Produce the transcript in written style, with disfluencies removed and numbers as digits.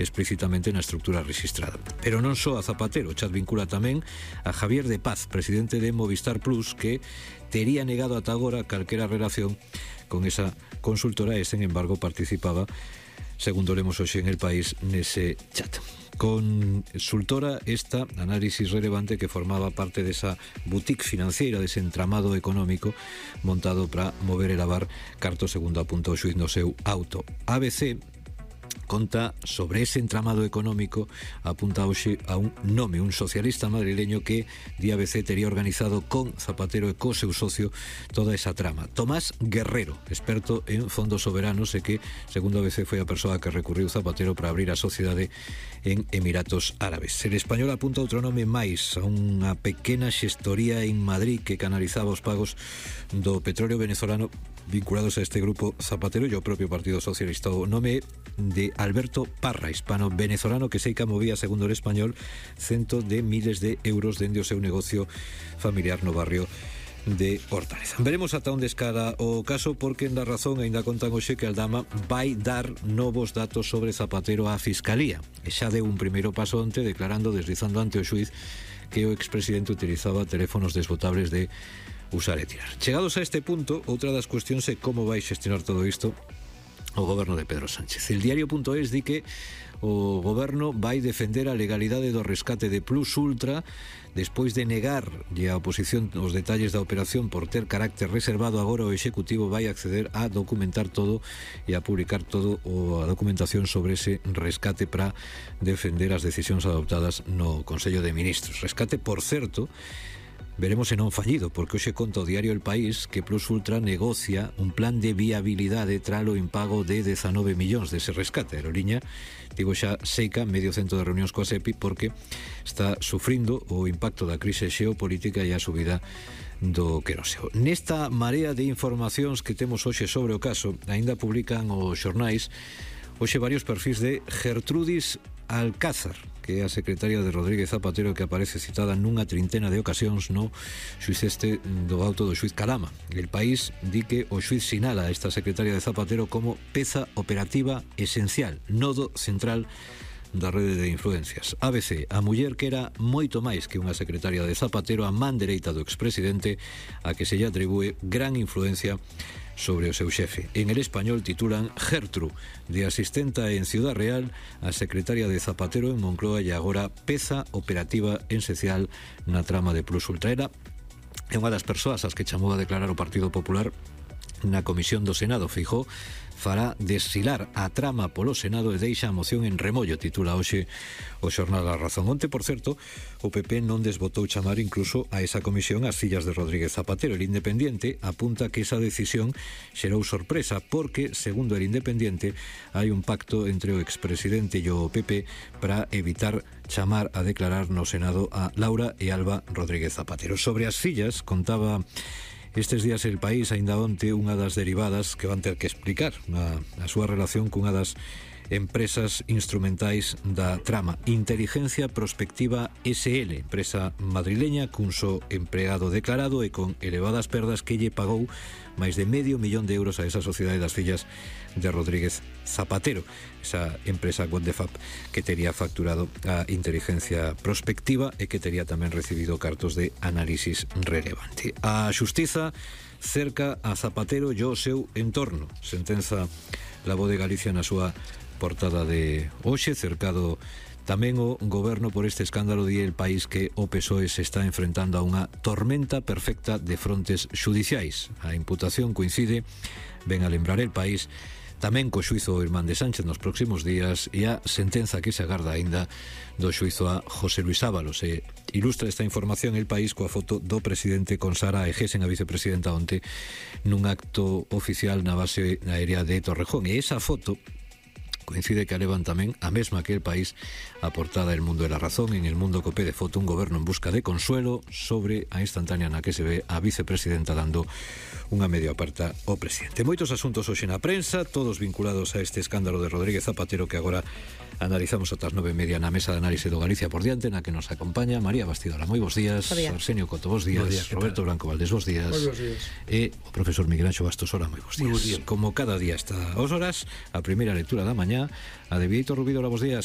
explícitamente na estructura registrada. Pero non só a Zapatero, o chat vincula tamén a Javier de Paz, presidente de Movistar Plus, que tería negado ata agora calquera relación con esa consultora e, sen embargo, participaba, segundo lemos hoxe en El País, nese chat. Consultora esta, análisis relevante, que formaba parte desa boutique financiera, dese entramado económico montado para mover e lavar cartos, segundo apunta o xuíz no seu auto. ABC conta sobre ese entramado económico, apunta hoxe a un nome, un socialista madrileño que di ABC tería organizado con Zapatero e co seu socio toda esa trama. Tomás Guerrero, experto en fondos soberanos, e que, segundo ABC, foi a persoa que recurriu Zapatero para abrir a sociedade en Emiratos Árabes. El Español apunta outro nome máis, a unha pequena xestoría en Madrid que canalizaba os pagos do petróleo venezolano vinculados a este grupo Zapatero e ao propio Partido Socialista. O nome de Alberto Parra, hispano-venezolano, que seica movía, segundo El Español, centos de miles de euros dende o seu negocio familiar no barrio de Hortaleza. Veremos ata onde escala o caso, porque en La Razón aínda contan hoxe que Aldama vai dar novos datos sobre Zapatero á Fiscalía, e xa deu un primeiro paso onte declarando, deslizando ante o xuíz, que o expresidente utilizaba teléfonos desbotables de usar e tirar. Chegados a este punto, outra das cuestións é como vai xestionar todo isto o goberno de Pedro Sánchez. El diario.es di que o goberno vai defender a legalidade do rescate de Plus Ultra despois de negar a oposición os detalles da operación por ter carácter reservado. Agora o Executivo vai acceder a documentar todo e a publicar todo a documentación sobre ese rescate para defender as decisións adoptadas no Consello de Ministros. Rescate, por certo, veremos se non fallido, porque hoxe conta o diario El País que Plus Ultra negocia un plan de viabilidade tralo impago de 19 millóns dese rescate. A aeroliña tivo xa seica medio cento de reunións coa SEPI porque está sufrindo o impacto da crise xeopolítica e a subida do queroseo. Nesta marea de informacións que temos hoxe sobre o caso, aínda publican os xornais hoxe varios perfis de Gertrudis Alcázar, que é a secretaria de Rodríguez Zapatero, que aparece citada nunha trintena de ocasións no xuiz do auto do xuiz Calama. El País di que o xuiz sinala a esta secretaria de Zapatero como peza operativa esencial, nodo central da rede de influencias. ABC, a muller que era moito máis que unha secretaria de Zapatero, a man dereita do expresidente, a que se lle atribúe gran influencia sobre o seu xefe. En El Español titulan Gertru, de asistenta en Ciudad Real a secretaria de Zapatero en Moncloa e agora peza operativa esencial na trama de Plus Ultra. Era unha das persoas as que chamou a declarar o Partido Popular na Comisión do Senado. Feijóo fará desfilar a trama polo Senado e deixa a moción en remollo, titula hoxe o xornal La Razón. Onte, por certo, o PP non desbotou chamar incluso a esa comisión as fillas de Rodríguez Zapatero. El Independiente apunta que esa decisión xerou sorpresa porque, segundo El Independiente, hai un pacto entre o expresidente e o PP para evitar chamar a declarar no Senado a Laura e Alba Rodríguez Zapatero. Sobre as fillas, contaba estes días El País, aínda onte, unha das derivadas que van ter que explicar a súa relación cunha das empresas instrumentais da trama, Inteligencia Prospectiva SL, empresa madrileña cun só empregado declarado e con elevadas perdas que lle pagou máis de €500,000 a esa sociedade das fillas de Rodríguez Zapatero, esa empresa What the Fab que tería facturado a Inteligencia Prospectiva e que tería tamén recibido cartos de análisis relevante. A xustiza cerca a Zapatero e o seu entorno, sentenza La Voz de Galicia na súa portada de hoxe. Cercado tamén o goberno por este escándalo, di El País que o PSOE se está enfrentando a unha tormenta perfecta de frontes xudiciais. A imputación coincide, ven a lembrar El País, tamén co xuizo Irmán de Sánchez nos próximos días e a sentenza que se agarda aínda do xuizo a José Luis Ábalos. E ilustra esta información El País coa foto do presidente con Sara Egesen, a vicepresidenta, onte nun acto oficial na base aérea de Torrejón. E esa foto coincide que levan tamén a mesma que El País, a portada El Mundo e La Razón. En El Mundo copé de foto un goberno en busca de consuelo sobre a instantánea na que se ve a vicepresidenta dando unha media aparta ao presidente. Moitos asuntos hoxe na prensa, todos vinculados a este escándalo de Rodríguez Zapatero, que agora analizamos ata as 9:30 na mesa de análise do Galicia por diante, na que nos acompaña María Bastidora. Moi bons días. Arsenio Coto, bons días. Roberto Blanco Valdés, bons días. Moi bons días. E o profesor Miguel Anxo Bastos, hola, moi bons días. Como cada día está aos horas, a primeira lectura da mañá, a de Vítor Rubidora, bons días.